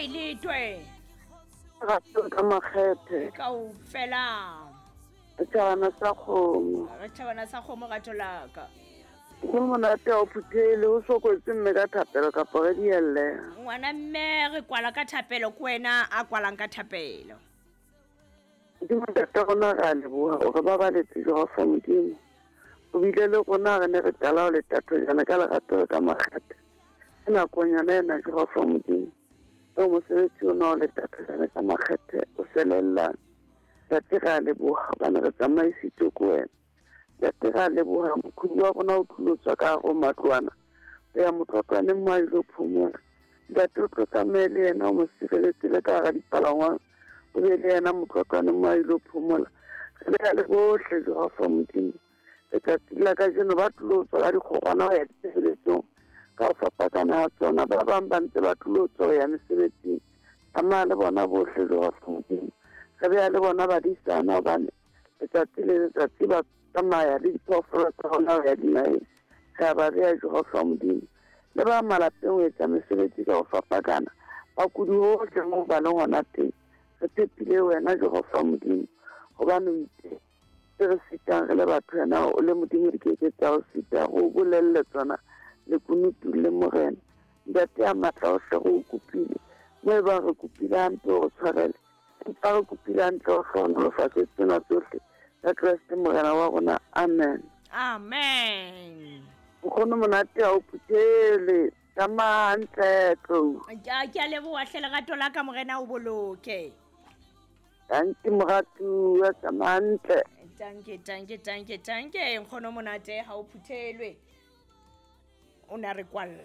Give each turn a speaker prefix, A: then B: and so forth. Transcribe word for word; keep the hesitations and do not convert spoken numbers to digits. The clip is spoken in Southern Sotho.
A: kae letwe?
B: Rato ka makgethe.
A: Kaofela.
B: Tjhabana sa kgomo.
A: Re tjhabana sa kgomo rato la ka.
B: Go monate o phuthele o sokotse mme ka thapelo kapa re dielle.
A: Ngwana mme re kwala ka thapelo ke wena a kwalang ka thapelo.
B: Modimo ntate rona re a leboha o re babaletse Jehova Modimo. O bile le rona re ne re qala ho letato jana ka lerato ka makgethe. Ke nakong yona ena Jehova Modimo. O mosebetsi ona o letato jana ka makgethe o selellang. Ntate re a leboha hobane re tsamaisitswe ke wena. Ntate re a leboha mokhudi wa rona o tlilo tswa ka hare ho matlwana. O ya motlotlwaneng mo a ilo phomola. Ntate o tlo tsamaye le yena o mo sireletse le ka hara dipalangwang. O be le yena motlotlwaneng mo a ilo phomola. Re beha le bohle Jehova Modimo. Letsatsi la kajeno ba tlilo tswa ka dikgorwana ho ya ditshebeletsong ka ho fapakana ha tsona. Ba bang ba ntse ba tlilo tswa ho ya mesebetsing. Tsamaya le bona bohle Jehova Modimo. Re beha le bona badisana hobane letsatsi le letsatsi ba tsamaya le diphoofolo tsa rona ho ya dinaheng. Re a ba beha Jehova Modimo. Le ba malapeng ho etsa mesebetsi ka ho fapakana. Bakudi hohle moo ba leng hona teng. Re tshepile wena Jehova Modimo hobane o itse tse re sitang re le batho wena o le Modimo di ke ke tsa o sita go bolelle tsona lekunutu le Morena. Ntate ya matla ohle re o kopile mo e bang re kopile hampe o re tshwarele, empa re kopile hantle o hlohonolofatse tsena tsohle ka Kreste Morena wa rona. Amen.
A: Amen.
B: Nkgono monate ha o phuthele. Tsamaya hantle tlou.
A: Ke a ke a leboha hle lerato la ka Morena o boloke.
B: Tanki moratuwa, tsamaya hantle.
A: Tanke tanke tanke tanke nkgono monate ha o phuthelwe. O na re kwalla.